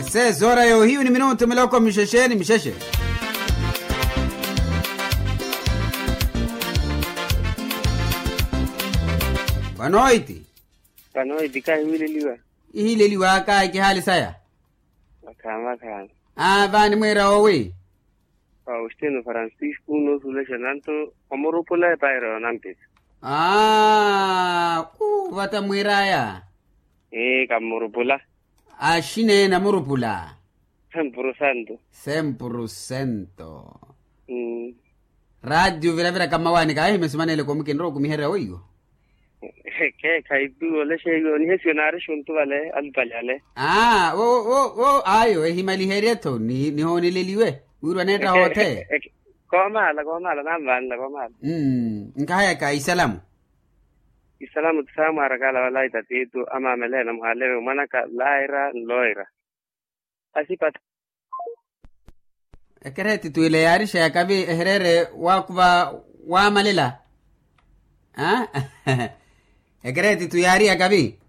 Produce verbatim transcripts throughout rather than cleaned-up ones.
Seis horas ya ohiyu ni minutu miloko mixexe ni mixexe. Boa noiti. Boa noiti kahiwileliwa. Ihileliwaka ikihaali saya. Vakhaani vakhaani. Aa vaani mwiira owi. Faustino francisco noosulexa nanto omurupula epaira yoonampisa. Aa kuvata mwiiraya. Ee kammurupula. Axinee namurupula. Sempuru sento. Sempuru sento. Raati oviravira kamawaani kaahimya simaneleko mukinrowa okumiherya weiwo. Kheekha ipi olexeiwe onihesiwe naari xuntu vale alupali ale. Aa wo wo wo ayo ehimaliherye-tho nihooneleliwe. Wirwa neetta hoothe. Koomaala koomaala nanvanla koomaala. Nkahayaka isalamu. Isalamu ti saamwarakala wala itatiitu amaamelehe namuhaalewe mwanaka laira nloira. Asipata. Ekereeti twile yaarixa yakavi ehereere waakuva waamalela. Ekereeti twi yaari yakavi.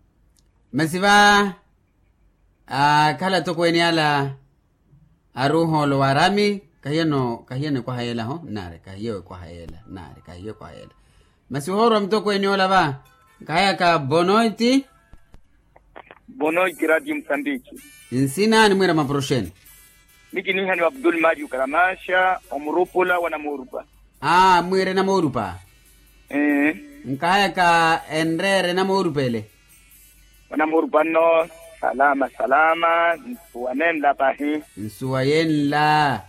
Masi va akhala atokweene ala aruuhoolo waarami. Kahiyeno kahiyeno ekwahayeela ho nnaari kahiyo ekwahayeela nnaari kahiyo ekwahayeela. Masi ohoorwa mutokweene ola va. Nkahayaka bonoiti. Bonoiti ratio musambiki. Nsina animwiira maporoxeni. Mikinihaniwa abdul mario karamaxa omurupula wa namoorupa. Aa mwiire namoorupa. Nkahayaka enreere namoorupa ele. Wa namoorupa nno. Salama salama. Nsuwa nenla pahi. Nsuwa yenla.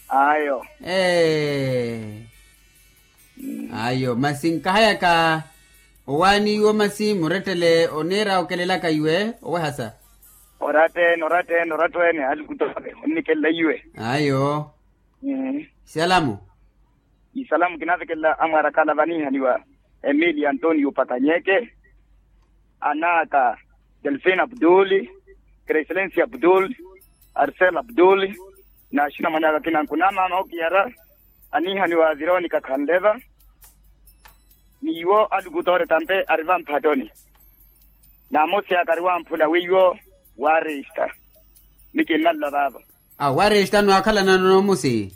Ayo. Ee. Ayo masi nkahayaka owaani iwo masi murettele oniira okelelaka iwe owehasa. Orattene orattene orattene alukutoore onnikelela iwe. Ayo. Isalamu. Isalamu kinaavekelela amwarakala vanihaniwa emilio antonio pakanyeke, anaka delfin abduli, kreiselensi abduli, arsel abduli, n'axinamwane aka akina nkunamama okiyara anihaniwa vironika khanleva. N'iwo alukutoore tampe ari vamphattoni. N'amosi aka ari wamphula weiwo waaresta. Mikinnalula vaavo. Awo waaresta nwaakhalana n'omusi.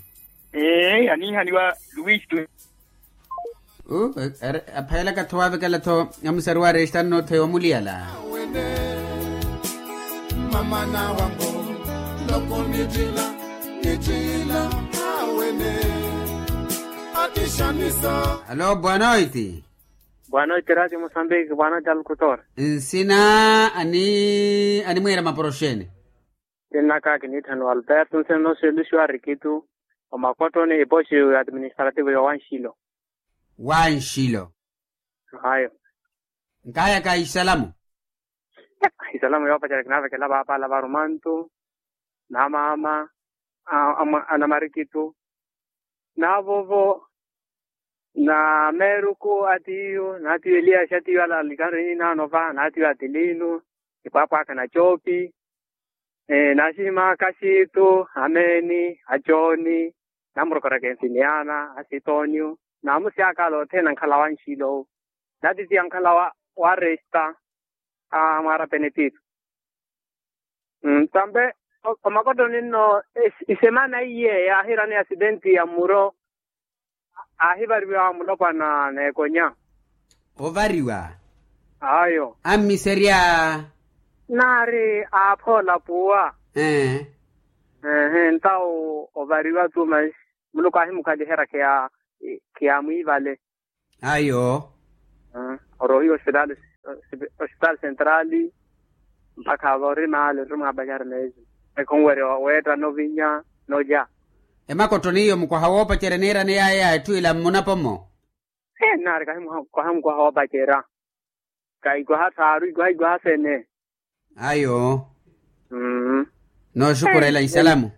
Ee anihaniwa luwistu. Aphayelaka-tho waavekela-tho amusari waaresta nno-tho ewamuliyala. Mama nawango loko nitila nitila awene. Akishanisa. Alo bwanoiti. Bwanoiti ratio musambiki bwanoiti alukutora. Nsina ani animwiira maporoxeni. Sinnaka kiniitthaniwa alberto nsina nooxeluxiwa arikitu omakottoni ipoxi administrativo ya wanxilo. Wanxilo. Ayo. Nkayaka isalamu. Isalamu yoopacerya kinaavekela paapala varumantu na maama a namarikitu na vovo na meeruku atiyu na atiyu eliyaxi atiyu alalikari ninaano va na atiyu atilinu ipwaapwaaka na coopi na axihimaka axiitu ameeni ajooni na murokoraka enfiniana asitooniyu na amusi aka ala othene ankhala wanxilo na titiya ankhala wa resta a mwaarapene piitu. Tampe omakottoni nno isemana iye yaahirani asidenti ya mmuro aahivariwa mulopwana n'ekonya. Ovariwa. Ayo ammiserya. Naari aaphoola puwa. Ehe ntawo ovariwa-tu manxi muluku aahimukhaliherya khiyaamwiivale. Ayo. Orohiwa ospitaali ospitaali sentrali mpakha ava ori maali ori mwaapacari meezi ekhonwerya weetta novinya nolya. Emakottoni iyo mukwaha woopacerya niirani yaya etthu ila mmunapo-mo. Nnaari kahi mukwaha woopacerya kahi ikwaha thaaru ikwaha ikwaha sene. Ayo. Nooxukhurela isalamu.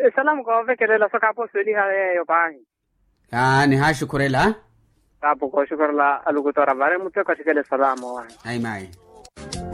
Esalamu koovekelela so kaaposuweliha yeeyo paahi. Nihaaxukhurela. Kaapo kooxukhurela alukutora vale muteko axikele esalamu owahi. Ayi mayi.